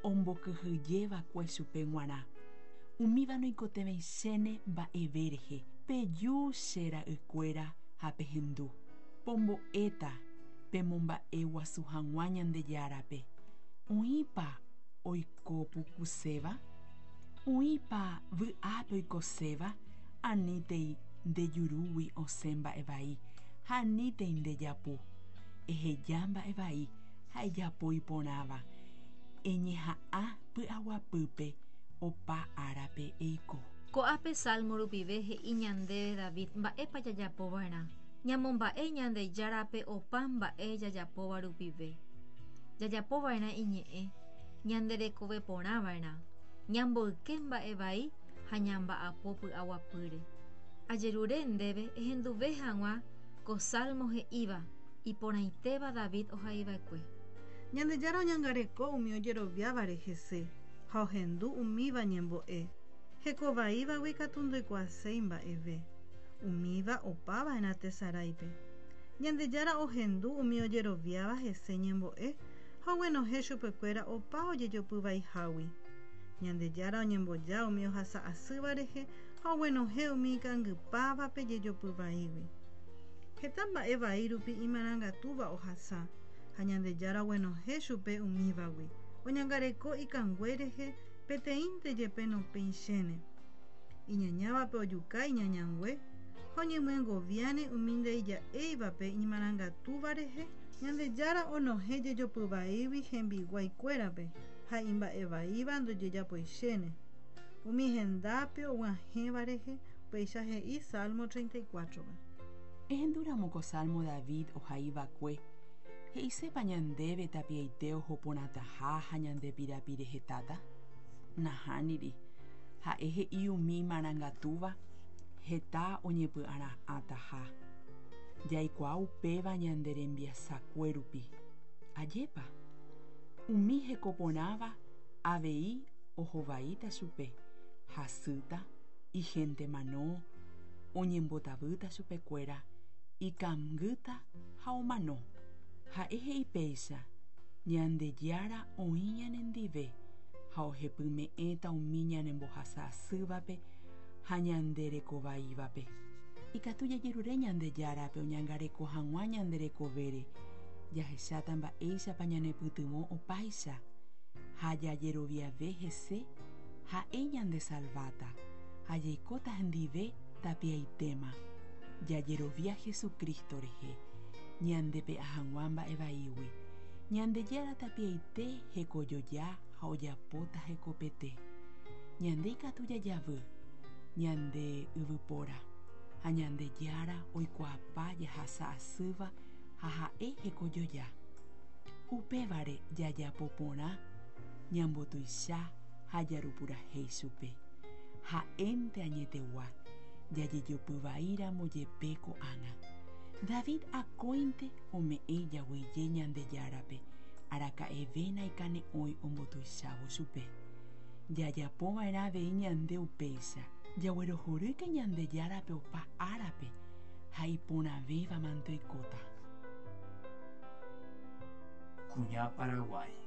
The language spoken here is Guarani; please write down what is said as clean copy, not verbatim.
ombokyhyjeva'ekue chupe g̃uarã. Umíva noikotevẽichéne mba'eve rehe. Peju che ra'ykuéra ha pehendu. Pombo'éta pemomba'e guasu hag̃ua Ñandejárape. Oĩpa oiko pukuséva? Oĩpa vy'ápe oikoséva? Anítei nde jurúgui osẽ mba'e vai ha anítei nde japu. Eheja mba'e vai ha ejapo iporãva. Eñeha'ã py'aguapýpe opa árape eiko. Ko'ápe Salmo rupive he'i ñandéve David mba'épa jajapo va'erã. Ñamomba'e Ñandejárape opa mba'e jajapóva rupive. Jajapo va'erã iñe'ẽ, ñande rekove porã va'erã, ñamboyke mba'e vai ha ñamba'apo py'aguapýre. Ajerure ndéve ehenduve hag̃ua ko Salmo he'íva iporãitéva David ohaiva'ekue. Ñandejára oñangareko umi ojeroviávare hese ha ohendu umíva ñembo'e. Heko vaívagui katu ndoikuaaséi mba'eve. Umíva opa va'erã tesaráipe. Ñandejára ohendu umi ojeroviáva hese ñembo'e ha oguenohẽ chupekuéra opa ojejopy vaihágui. Ñandejára oñemboja umi ohasa asýva rehe ha oguenohẽ umi ikangypávape jejopy vaígui. Heta mba'e vai rupi imarangatúva ohasa, ha Ñandejára oguenohẽ chupe umívagui. Oñangareko ikangue rehe peteĩnte jepe nopẽichéne. Iñañávape ojuka iñañangue, ha oñemyengoviáne umi ndaija'éivape imarangatúva rehe. Ñandejára onohẽ jejopy vaígui hembiguái kuérape, ha imba'e vaíva ndojejapoichéne. Umi hendápe oguahẽva rehe, upéicha he'i Salmo 34-pe. Ehendúramo ko Salmo David ohai va'ekue, he'isépa ñandéve tapiaite oho porãtaha ha ñande pirapire hetáta? Nahániri. Ha'e he'i umi imarangatúva heta oñepy'ara'ãtaha. Jaikuaa upéva ñande rembiasakue rupi. Ajépa? Umi heko porãva avei ohovaíta chupe, hasýta, ihénte mano, oñembotavýta chupekuéra, ikangýta ha omano. Ha'e he'i péicha, Ñandejára oĩ ñanendive ha ohepyme'ẽta umi ñanembohasa asývape ha ñande rekovaívape. Ikatu jajerure Ñandejárape oñangareko hag̃ua ñande rekovére, jahecháta mba'éichapa ñanepytyvõ opáicha ha jajeroviave hese ha'e ñandesalváta ha jaikóta hendive tapiaitéma. Jajerovia Jesucristo rehe ñandepe'a hag̃ua mba'e vaígui. Ñandejára tapiaite hekojoja ha ojapóta hekopete. Ñande ikatu jajavy, ñande yvypóra, ha Ñandejára oikuaapa jahasa asýva ha ha'e hekojoja. Upévare jajapo porã ñambotuicha ha jarupurahéi chupe. Ha'énte añetegua, jajejopy vaíramo jepe ko'ág̃a. David akóinte ome'ẽ jaguije Ñandejárape, araka'eve naikane'õi ombotuichávo chupe. Jajapo va'erã avei ñande upéicha, jaguerohorýke Ñandejárape opa árape ha iporãvéva mante oikóta. Kuña Paraguái.